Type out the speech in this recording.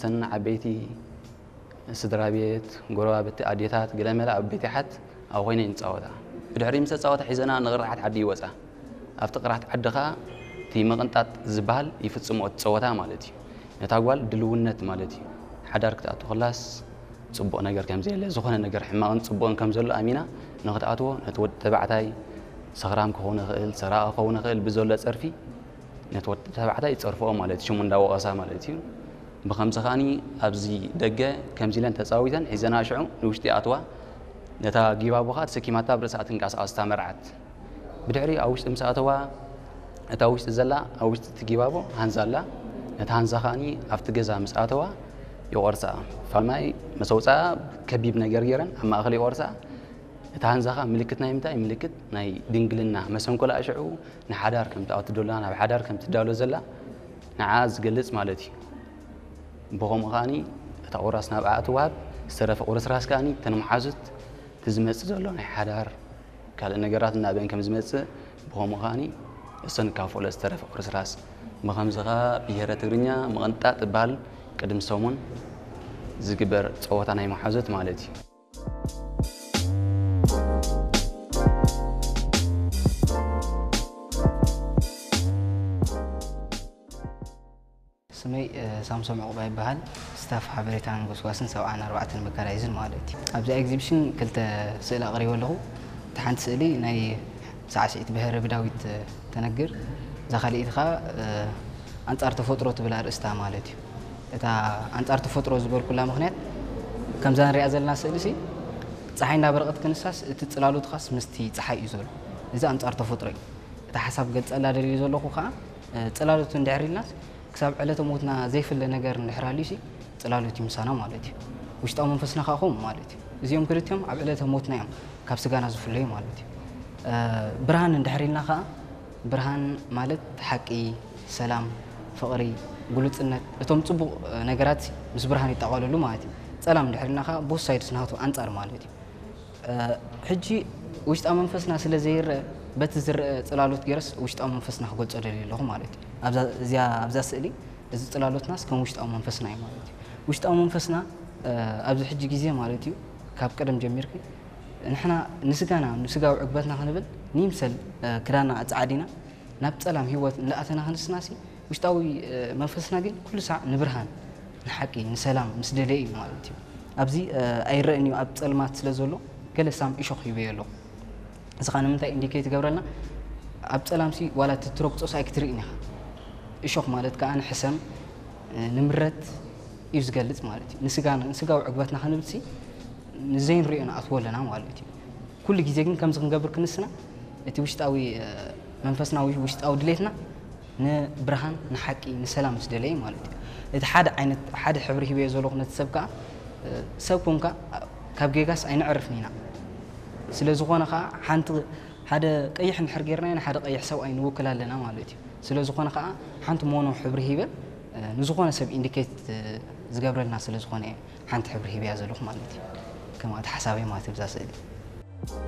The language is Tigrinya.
ሰን ዓበይቲ ስድራ ቤት፣ ጎረባብቲ፣ ኣዴታት፣ ገለመለ ኣብ ቤት ይሓት ኣብ ኮይነ ይንጻወታ። ብድሕሪ ምስ ተጻወታ ሒዘና ንቕርዓት ዓዲ ይወጻ። ኣብቲ ቅርዓት ዓዲ ኸኣ እቲ ምቕንጣጥ ዝበሃል ይፍጽሞ እቲ ጸወታ ማለት እዩ። ነታ ጓል ድልውነት ማለት እዩ። ሓዳር ክትኣቱ ከላስ ጽቡቕ ነገር ከም ዘየለ፣ ዝኾነ ነገር ሕማቕን ጽቡቕን ከም ዘሎ ኣሚና ንኽትኣትዎ ነቲ ወዲ ተባዕታይ ሰኽራም ክኸውን ይኽእል፣ ሰራቒ ክኸውን ይኽእል ብዘሎ ጸርፊ ነቲ ወዲ ተባዕታይ ይጸርፍኦ ማለት እዩ፣ ሽሙ እንዳወቐሳ ማለት እዩ። ብኸምዚ ከኣኒ ኣብዚ ደገ ከምዚ ኢለን ተጻዊተን ሒዘና ሽዑ ንውሽጢ ኣትዋ። ነታ ጊባቦ ከኣ ተሰኪማታ ኣብ ርእሳ ትንቀሳቐስ እታ መርዓት። ብድሕሪ ኣብ ውሽጢ ምስ ኣተዋ፣ እታ ውሽጢ ዘላ ኣብ ውሽጢ እቲ ጊባቦ ሃንዛ ኣላ። ነታ ሃንዛ ከኣኒ ኣብቲ ገዛ ምስ ኣተዋ ይቖርሳ። ፋልማይ መሰውፃ ከቢብ ነገር ገይረን ኣብ ማእኸል ይቖርሳ። እታ ሃንዛ ከኣ ምልክት ናይ ምንታይ? ምልክት ናይ ድንግልና መሰንኮላ ሽዑ ንሓዳር ከም ትኣቱ ዶላ፣ ናብ ሓዳር ከም ትዳሎ ዘላ ንዓ ዝገልጽ ማለት እዩ። ብኸምኡ ከኣኒ እታ ቁራስ ናብኣ ትወሃብ፣ ዝተረፈ ቁርስራስ ከኣኒ ተን መሓዙት እቲ ዝመጽእ ዘሎ ናይ ሓዳር ካልእ ነገራት እናበን ከም ዝመጽእ፣ ብኸምኡ ከኣኒ እሰን ይካፈሎ ዝተረፈ ቁርስራስ። ብኸምዚ ከኣ ብሄረ ትግርኛ ምቕንጣጥ ይበሃል። ቅድሚ ሰሙን ዝግበር ጸወታ ናይ መሓዙት ማለት እዩ። ስመይ ሳምሶም ዕቑባ ይበሃል። ስታፍ ሓበሬታን ጎስጓስን ሰብዓን ኣርባዕተን መካናይዝን ማለት እዩ። ኣብዚ ኤግዚቢሽን ክልተ ስእሊ ኣቕሪበ ኣለኹ። እቲ ሓንቲ ስእሊ ናይ ሳዕስዒት ብሄረ ብዳዊት ተነግር፣ እዛ ካልኣይቲ ኸዓ ኣንጻር ተፈጥሮ ትብል ኣርእስታ ማለት እዩ። እታ ኣንጻር ተፈጥሮ ዝበልኩላ ምኽንያት፣ ከምዛ ንሪኣ ዘለና ስእሊ ሲ፣ ጸሓይ እንዳበረቐት ክንሳስ እቲ ጽላሎት ኻስ ምስቲ ጸሓይ እዩ ዘሎ። እዚ ኣንጻር ተፈጥሮ እዩ። እታ ሓሳብ ገልጸላ ደልየ ዘለኹ ኸዓ፣ ጽላሎት እንድሕር ኢልናስ ክሳብ ዕለተ ሞትና ዘይፍለ ነገር እንድሕር ሃልዩሲ ጽላሎት እዩ ምሳና ማለት እዩ። ውሽጣዊ መንፈስና ኸዓ ከምኡ ማለት እዩ። እዚኦም ክልቲኦም ኣብ ዕለተ ሞትና እዮም ካብ ስጋና ዝፍለዩ ማለት እዩ። ብርሃን እንድሕር ኢልና ኸዓ፣ ብርሃን ማለት ሓቂ፣ ሰላም፣ ፍቕሪ፣ ግሉጽነት፣ እቶም ጽቡቕ ነገራት ምስ ብርሃን ይጠቓለሉ ማለት እዩ። ጸላም እንድሕር ኢልና ኸዓ both sides ናቱ ኣንጻር ማለት እዩ። ሕጂ ውሽጣዊ መንፈስና ስለ ዘይረአ፣ በቲ ዝረአ ጽላሎት ገይረስ ውሽጣዊ መንፈስና ክገልጾ ደልየ ኣለኹ ማለት እዩ። ኣብዛ እዚኣ ኣብዛ ስእሊ እዚ ጽላሎትናስ ከም ውሽጣዊ መንፈስና እዩ ማለት እዩ። ውሽጣዊ መንፈስና ኣብዚ ሕጂ ግዜ ማለት እዩ ካብ ቀደም ጀሚርኪ ንሕና ንስጋና ንስጋዊ ዕግበትና ክንብል ንይምሰል ክዳና ኣጻዓዲና ናብ ጸላም ህይወት እንዳኣተና ክንስናሲ ውሽጣዊ መንፈስና ግን ኩሉ ሳዕ ንብርሃን ንሓቂ ንሰላም ምስ ደለየ እዩ ማለት እዩ። ኣብዚ ኣይረእን እዩ ኣብ ጸልማት ስለ ዘሎ ገለ ሳም እሾኽ ሂበዮ ኣለኹ። እዚ ኸዓ ንምንታይ ኢንዲኬት ይገብረልና? ኣብ ጸላምሲ ዋላ እቲ ትረግጾስ ኣይክትርእን ኢኻ። እሾኽ ማለት ከኣ ንሕሰም ንምረት እዩ ዝገልጽ ማለት እዩ። ንስጋና ንስጋዊ ዕግበትና ክንብልሲ ንዘይንርእዮ ንኣትዎ ኣለና ማለት እዩ። ኩሉ ግዜ ግን ከምዚ ክንገብር ክንስና እቲ ውሽጣዊ መንፈስና ውሽጣዊ ድሌትና ንብርሃን ንሓቂ ንሰላም ምስ ደለየ ማለት እዩ። እቲ ሓደ ዓይነት ሓደ ሕብሪ ሂበዮ ዘለኹ ነቲ ሰብ ከኣ ሰብ ኮንካ ካብ ጌጋስ ኣይንዕርፍን ኢና። ስለ ዝኾነ ከኣ ሓንቲ ሓደ ቀይሕ እንድሕር ጌርናዮ ንሓደ ቀይሕ ሰብኣይ ንውክል ኣለና ማለት እዩ። ስለ ዝኾነ ከኣ ሓንቲ ሞኖ ሕብሪ ሂበ ንዝኾነ ሰብ ኢንዲኬት ዝገብረልና ስለ ዝኾነ እየ ሓንቲ ሕብሪ ሂበያ ዘለኹ ማለት እዩ። ከም ኣተሓሳበይ ማለት እዩ ብዛ ስእሊ።